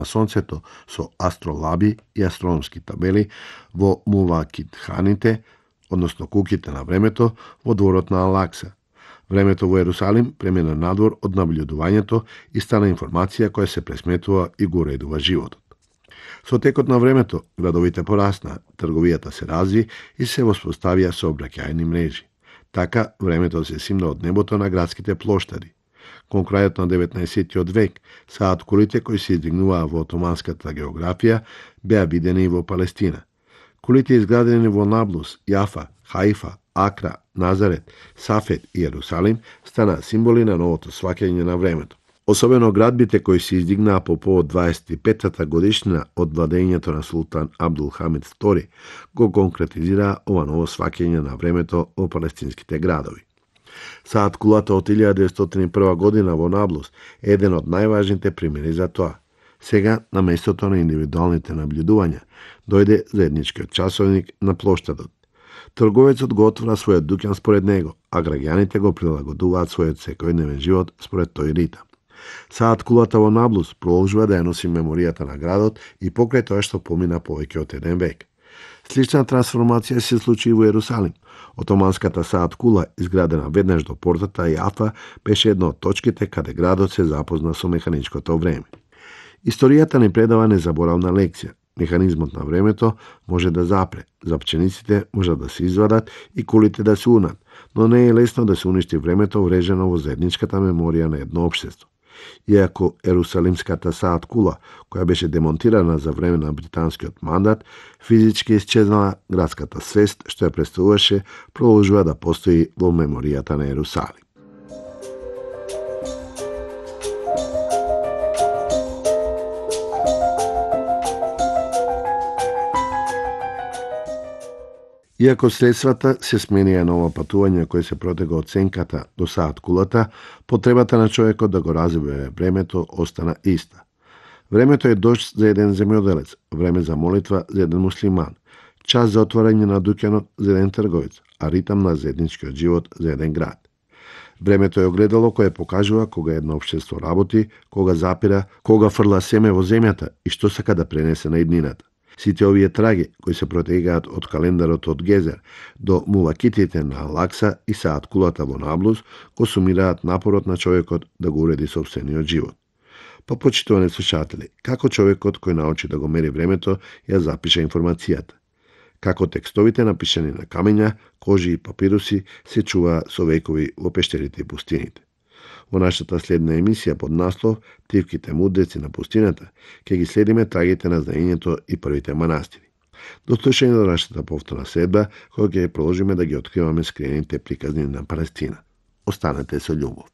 Сонцето со астролаби и астрономски табели во мувакитханите, односно куќите на времето, во дворот на Алакса. Времето во Ерусалим премина надвор од наблюдувањето и стана информација која се пресметува и го уредува животот. Со текот на времето, градовите порасна, трговијата се разви и се воспоставија сообраќајни мрежи. Така, времето се симна од небото на градските плоштади. Кон крајот на 19. век, саат кулите кои се издигнуваа во отоманската географија беа видени и во Палестина. Кулите изградени во Наблус, Јафа, Хаифа, Акра, Назарет, Сафет и Ерусалим стана символи на новото сваќање на времето. Особено градбите кои се издигнаа по повод 25-та годишнина од владењето на султан Абдул Хамид II го конкретизираа ова ново сваќање на времето во палестинските градови. Саат кулата од 1901 година во Наблус е еден од најважните примери за тоа. Сега, на местото на индивидуалните наблюдувања, дојде заедничкиот часовник на плоштадот. Трговецот го отвора својот дуќан според него, а граѓаните го прилагодуваат својот секојдневен живот според тој ритам. Саат кулата во Наблус продолжува да ја носи меморијата на градот и покрај тоа што помина повеќе од еден век. Слична трансформација се случи и во Ерусалим. Отоманската саат кула, изградена веднаш до портата Јафа, беше една од точките каде градот се запозна со механичкото време. Историјата ни предава незаборавна лекција. Механизмот на времето може да запре, запчениците може да се извадат и кулите да се унат, но не е лесно да се уништи времето врежено во заедничката меморија на едно општество. Иако Ерусалимската саат кула, која беше демонтирана за време на британскиот мандат, физички исчезнала, градската свест што ја представуваше продолжува да постои во меморијата на Ерусалим. Иако средствата се сменија на ова патување кој се протега од сенката до саат кулата, потребата на човекот да го разбере времето остана иста. Времето е дожд за еден земјоделец, време за молитва за еден муслиман, час за отворање на дуќанот за еден трговец, а ритам на заедничкиот живот за еден град. Времето е огледало кое покажува кога едно општество работи, кога запира, кога фрла семе во земјата и што сака да пренесе на иднината. Сите овие траги, кои се протегаат од календарот од Гезер до мувакитите на Алакса и саат кулата во Наблус, го сумираат напорот на човекот да го уреди собствениот живот. Па почитувани слушатели, како човекот кој научи да го мери времето ја запиша информацијата? Како текстовите напишани на камења, кожи и папируси се чува со векови во пештерите и пустините? Во нашата следна емисија под наслов "Тивките мудреци на пустината" ќе ги следиме трагите на знаењето и првите манастири. До слушање до нашата повторна следба, кога ќе продолжиме да ги откриваме скриените приказни на Палестина. Останете со љубов.